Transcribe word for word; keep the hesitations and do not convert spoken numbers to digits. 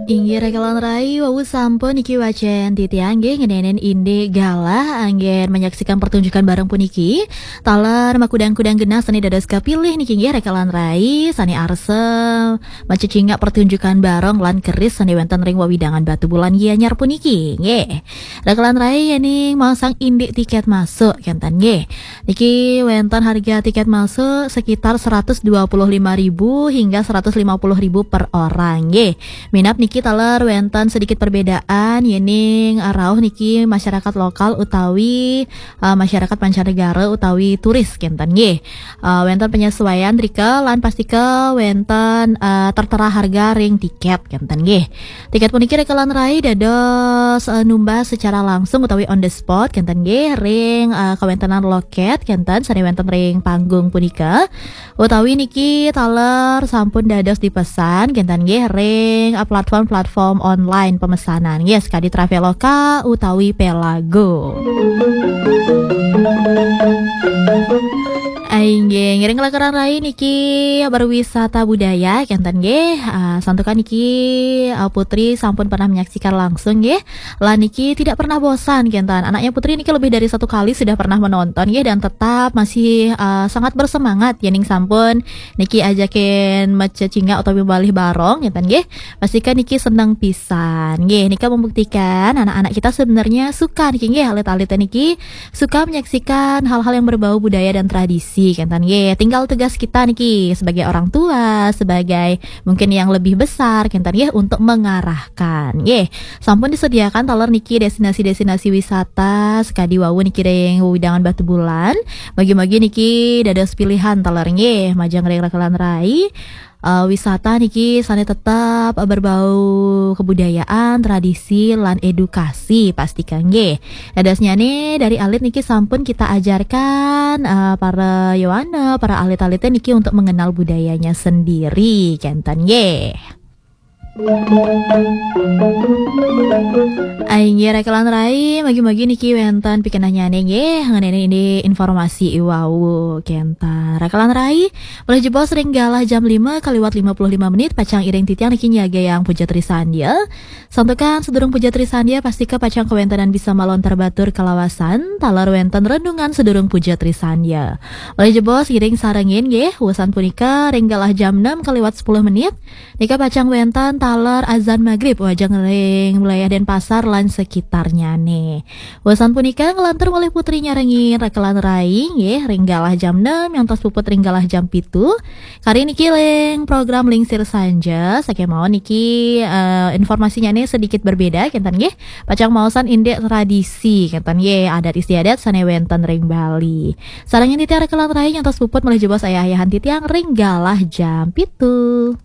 Inggih raka lan rai, wau sampun niki wacén titiang nggih ngeninin indik galah anggén menyaksikan pertunjukan barong puniki. Taler makudang-kudang genah sané dados kapilih niki nggih raka lan rai, sané arsa macecingak pertunjukan barong lan keris sané wénten ring wewidangan Batubulan Gianyar puniki nggih. Raka lan rai, yéning maosang indik tikét masuk kénten nggih. Niki wénten harga tikét masuk sekitar seratus dua puluh lima ribu hingga seratus lima puluh ribu per orang nggih. Minab niki taler wénten sedikit perbedaan yéning, eh, rauh niki masyarakat lokal utawi, eh, masyarakat mancanegara utawi turis kénten nggih. Eh, wénten penyesuaian rika lan pastika wénten, eh, tertera harga ring tikét kénten nggih. Tikét puniki raka lan rai dados, eh, numbas secara langsung utawi on the spot kénten nggih ring, eh, kawéntenan lokét kénten sané wénten ring panggung punika. Utawi niki taler sampun dados dipesan kénten nggih ring, eh, platform-platform online pemesanan nggih, sakadi Traveloka utawi Pelago. Inggih, ngiring raka lan rai niki berwisata budaya kénten nggih. Ah, santukan niki, ah, Putri sampun pernah menyaksikan langsung nggih. Lan niki tidak pernah bosan kénten. Anaknya Putri niki lebih dari satu kali sudah pernah menonton nggih dan tetap masih, ah, sangat bersemangat yéning sampun niki ajakin macecingak utawi balih barong kénten nggih. Pastika niki seneng pisan nggih. Nika membuktikan anak-anak kita sebenarnya suka niki nggih, alit-alit niki suka menyaksikan hal-hal yang berbau budaya dan tradisi kénten nggih. Tinggal tugas kita niki sebagai orang tua, sebagai mungkin yang lebih besar kénten nggih untuk mengarahkan nggih. Sampun disediakan taler niki destinasi-destinasi wisata sakadi wau niki ring wewidangan Batubulan. Mugi-mugi niki dados pilihan taler nggih majeng ring raka lan rai. Eh, wisata niki sané tetap berbau kebudayaan, tradisi, lan edukasi pastika nggih. Dadosnyané dari alit niki sampun kita ajarkan, eh, para yowana, para alit-alité niki untuk mengenal budayanya sendiri kénten nggih. Inggih raka lan rai, mugi-mugi niki wénten pikenohnyané nggih ngeninin indik informasi i wau kénten. Raka lan rai, malih jebos ring galah jam lima kaliwat lima puluh lima menit, pacang iring titiang niki nyagayang Puja Trisandya. Santukan sadurung Puja Trisandya, pastika pacang kawéntenan bisa malontar batur kalawasan, taler wénten renungan sadurung Puja Trisandya. Malih jebos iring sarengin nggih, wusan punika ring galah jam enam kaliwat sepuluh menit, nika pacang wénten taler azan magrib majeng ring wilayah Denpasar lan sekitarnyané. Wusan punika nglantur malih Putri nyarengin raka lan rai nggih ring galah jam enam ngantos puput ring galah jam pitu. Kari niki ring program Lingsir Sanja, sakémaon niki, eh, informasinyané sedikit berbeda kénten nggih. Pacang maosan indik tradisi kénten nggih, adat istiadat sané wénten ring Bali. Sarengin titiang raka lan rai ngantos puput malih jebos ayah-ayahan titiang ring galah jam pitu.